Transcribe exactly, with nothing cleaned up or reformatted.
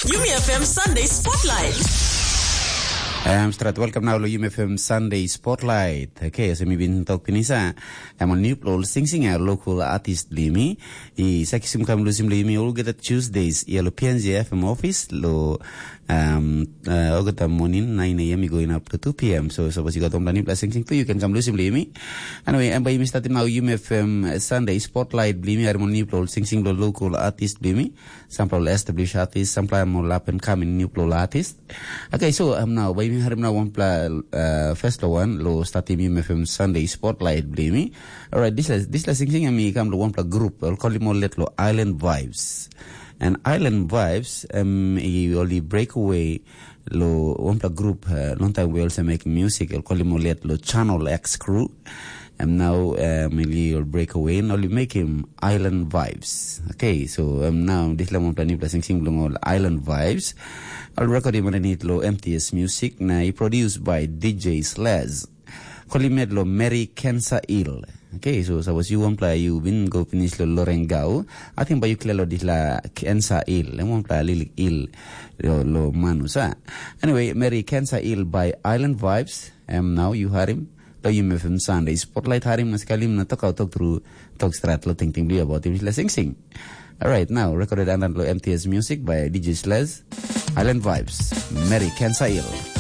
Yumi F M Sunday Spotlight. Em strat, welcome now lo Yumi F M Sunday Spotlight. Okay, so mi bin tok pinisa. Em on new plo sing sing a local artist blimi. I saki sim kam lusim blimi all get Tuesdays. Ya lo P N Z F M office lo um uh, ogata morning nine a.m. going up to two p.m. So suppose you got on new pla sing sing too, you can come lusim blimi. Anyway, em by mi starting now Yumi F M Sunday Spotlight blimi. Em on new plo sing sing lo local artist blimi. Sampla ol established artist, sampla em ol up and coming new plo artist. Okay, so um, now by mi harim now one pla uh, first lo one lo starting mi F M Sunday Spotlight blimi. Alright, this is this is sing sing mi kam lo one pla group. I'll call him all let lo Island Vibes. And Island Vibes um i only break away lo one pla group uh, long time we also make music. I'll call him all let lo Channel X crew. And now um, he'll break away and only make him Island Vibes. Okay, so um, now this lemon plan you blessing sing belong all Island Vibes. I'll record him underneath lo M T S music. Now he produced by D J Slaz. Call him lo Mary Cancer Ill. Okay, so suppose you one play you win go finish lo Lorengau. I think by you clear lo this la Cancer Ill. Em one play lilik ill lo, lo manusa. Anyway, Mary Cancer Ill by Island Vibes. Em now you hear him. Lo Yumi F M Sunday Spotlight harim na skalim na tok out tok through tok strat lo ting ting bli about him la sing sing. Alright, now recorded under lo M T S music by D J Slez. Island Vibes, Mary Cancer Ill.